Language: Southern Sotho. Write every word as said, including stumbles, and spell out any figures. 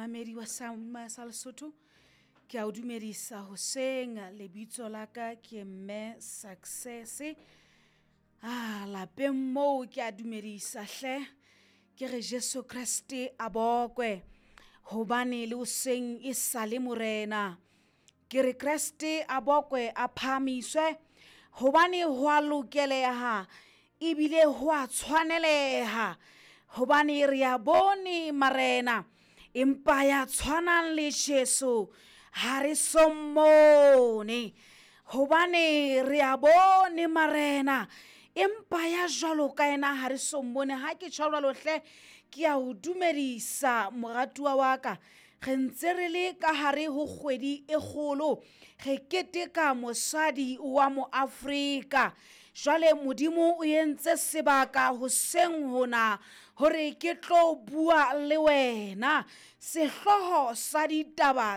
Momamedi wa sa sa Lesotho ke a o dumedisa hoseng lebitso la ka ke Mme Success. Ah lapeng moo ke a dumedisa hle ke re Jesu Kreste a bokwe hobane le hoseng e sale morena. Ke re Kreste a bokwe a phahamiswe hobane ho a lokeleha ebile ho a tshwaneleha hobane re a bone marena empa ya tshwanang le Jesu ha re so mmone. Hobane re a bone marena empa ya jwalo ka ena ha re so mmone. Ha ke tjho jwalo hle ke a o dumedisa moratuwa wa ka. Re ntse re le ka hare ho kgwedi e kgolo, re keteka mosadi wa mo Afrika. Jwale Modimo o entse sebaka hoseng hona hore ke tlo bua le wena. Sehloho sa ditaba.